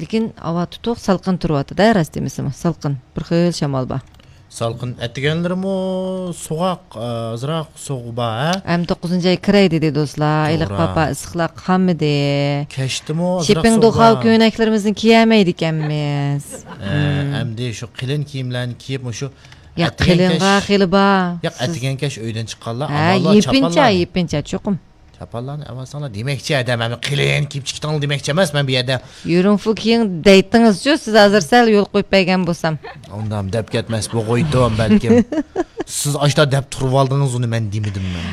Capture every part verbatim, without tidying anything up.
لېكىن ھاۋا تۇتۇق، سالقىن تۇرۇۋاتىدۇ، راست دېمىسىمۇ. سالقىن، بىر خىل شامال بار. سالقىن. ئەتىگەنلىرىمۇ سوغۇق، ئازراق سوغۇقى بار، ھە؟ ئەمدى توققۇزىنچى ئاي كىرەي دېدى دوستلار. ھېلىقى توغرا. پاپا ئىسسىقلار قالمىدى. كەچتىمۇ ئازراق شېپىڭ سوغۇق دوخاۋ بار. كۆينەكلىرىمىزنى كىيەلمەيدىكەنمىز. ھە، ھىم. ئەمدى شۇ قېلىن كىيىملەرنى كىيىپ، مۇشۇ ياق، ئەتىگەن قېلىنغا كەچ، خېلى بار. ياق، سىز ئەتىگەن كەچ ئۆيدىن چىققانلار، ھە، ئاۋۋاللا يېپىنچا، چاپانلارنى. يېپىنچا، چوقۇم. چاپانلارنى ئەۋەتسەڭلار دېمەكچى ئادەم، ئەمما قېلىن كىيىپ چىقىڭلار دېمەكچى ئەمەس مەن بۇ يەردە. يۈرۈڭ فۇ كىيىڭ دەيتتىڭىزچۇ، سىز ھازىر سەل يول قويۇپ بەرگەن بولسام. ئۇندام دەپ كەتمەس بولغۇيتتۇم بەلكىم. سىز ئاشتا دەپ تۇرۇۋالدىڭىز ئۇنى، مەن دېمىدىم مەن.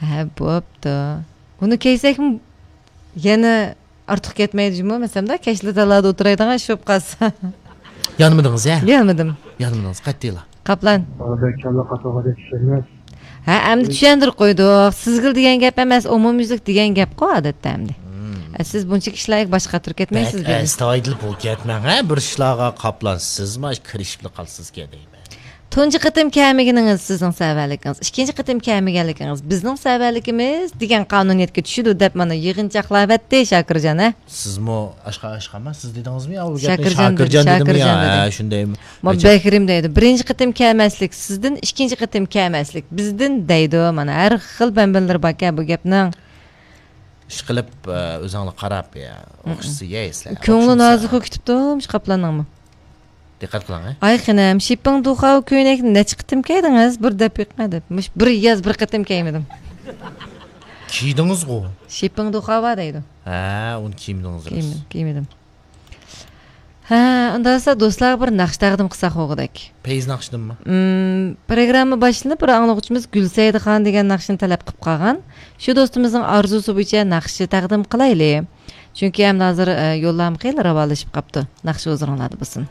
ھە، بوپتۇ. ئۇنى كىيسەكمۇ يەنە ئارتۇق كەتمەيدۇ جۇمۇ، مەسىلەن، كەچلى تالادا ئولتۇرايدىغان ئىش بولۇپ قالسا. يانمىدىڭىز، ھە؟ يانمىدىم. يانمىدىڭىز، قەتئىيلا. قاپلان. بۇ بەك كاللا قاتۇرغۇدەك ئىش ئەمەس. ھە، ئەمدى چۈشەندۈرۈپ قويدۇق. سىزگىلا دېگەن گەپ ئەمەس، ئومۇميۈزلۈك دېگەن گەپقۇ ئادەتتە ئەمدى. مم. ئە، سىز بۇنچىلىك ئىشلارغا باش قاتۇرۇپ كەتمەيسىز بەك دېدى. ئەستايىدىل بولۇپ كەتمەڭ، ھە، بىر ئىشلارغا قاپلان. سىزمۇ كىرىشىپلا قالسىسىكەن دەيمەن. تۇنجى قېتىم كەلمىگىنىڭىز سىزنىڭ سەۋەنلىكىڭىز، ئىككىنچى قېتىم كەلمىگەنلىكىڭىز بىزنىڭ سەۋەنلىكىمىز دېگەن قانۇنىيەتكە چۈشىدۇ دەپ مانا يىغىنچاقلاۋەتتى شاكىرجان، ھە؟ سىزمۇ ئاشقا ئاشقا ئەمەس، سىز دېدىڭىزمۇ يا ئۇ گەپنى؟ شاكىرجان دېدى، شاكىرجان دېدىم يا، شاكىرجان دېدى. ھە، شۇندايمۇ؟ ما بەكرىم دەيدۇ. بىرىنچى قېتىم كەلمەسلىك سىزدىن، ئىككىنچى قېتىم كەلمەسلىك بىزدىن دەيدۇ. مانا ھەر خىل بەمبەنلىرى باركەن بۇ گەپنىڭ. ئىشقىلىپ، ئە، ئۆزۈڭلار قاراپ، يا، ئوخشىسا يەيسىلەر. كۆڭلى نازۇكى كۈتۈپتۇ مۇشۇ قاپلاننىڭمۇ. دىققەت قىلىڭ، ھە؟ ئاي خېنىم، شىپپىڭ دۇخاۋ كۆينەكنى نەچچە قېتىم كىيدىڭىز؟ بىر دەپ بېقىڭ دەپ. مۇشۇ بىر ياز بىر قېتىم كىيمىدىم. كىيدىڭىزغۇ؟ شىپپىڭ دۇخاۋا دەيدۇ. ھە، ئۇنى كىيمىدىڭىز راست. كىيمىدىم، كىيمىدىم. ھە، ئۇنداق بولسا دوستلارغا بىر ناخشا تەقدىم قىلساق بولغۇدەك. پەيز ناخشىدىنمۇ؟ مم، پروگرامما باشلىنىپ بىر ئاڭلىغۇچىمىز گۈلسەيدىخان دېگەن ناخشىنى تەلەپ قىلىپ قالغان. شۇ دوستىمىزنىڭ ئارزۇسى بويىچە ناخشا تەقدىم قىلايلى. چۈنكى ئەمدى ھازىر، ئە، يوللارمۇ خېلى راۋانلىشىپ قاپتۇ. ناخشا ھۇزۇرۇڭلاردا بولسۇن.